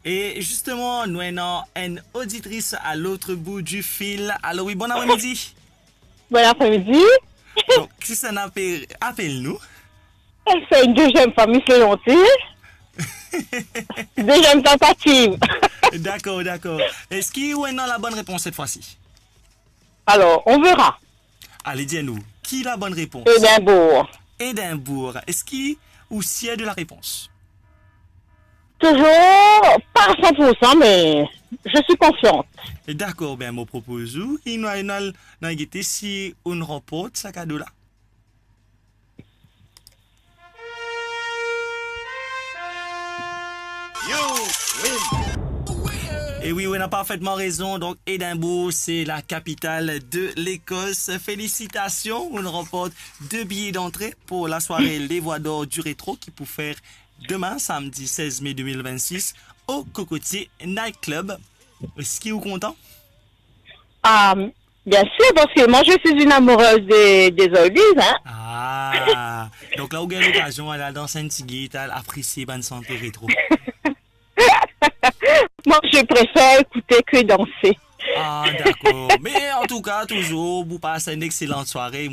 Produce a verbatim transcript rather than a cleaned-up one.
E zisteman, nou ena enn oditris a lot bout di fil. Alo, wi, bon apremidi. Bon apremidi. Donk, kisannla pe apel nou? Se enn deziem fwa, Miss Leonti. Deziem tantativ. Dakor, dakor. Eski ou ena labonn repons set fwa si? Alors, on verra. Ale, dir nou, ki labonn repons? Edinburgh. Edinburgh. Eski ou sier de la repons? Toujours pas à cent pour cent, mais je suis confiante. Dakor, be mo propoz ou, e nou al, nou al gete si ou ranport sa kado la. E wi, ou ena parfetman rezon. Donk, Edinburgh, se la kapital de Lekos. Felisitasion, ou ranport de biye dantre pou lasware Les Voix d'Or du Rétro ki pou fer demin, samdi sez me de mil vennsis, o Cocotier Night Club. Eski ou kontan? Ah, bien sûr, parce que moi, je suis une amoureuse des, des oldies, hein. Ah, donk la, ou gagn lokazion al dans enn ti git, al apresie bann sante retro. Moi, je préfère écouter que danser. Ah, dakor. Me antouka, touzour, ou pas enn exelan sware.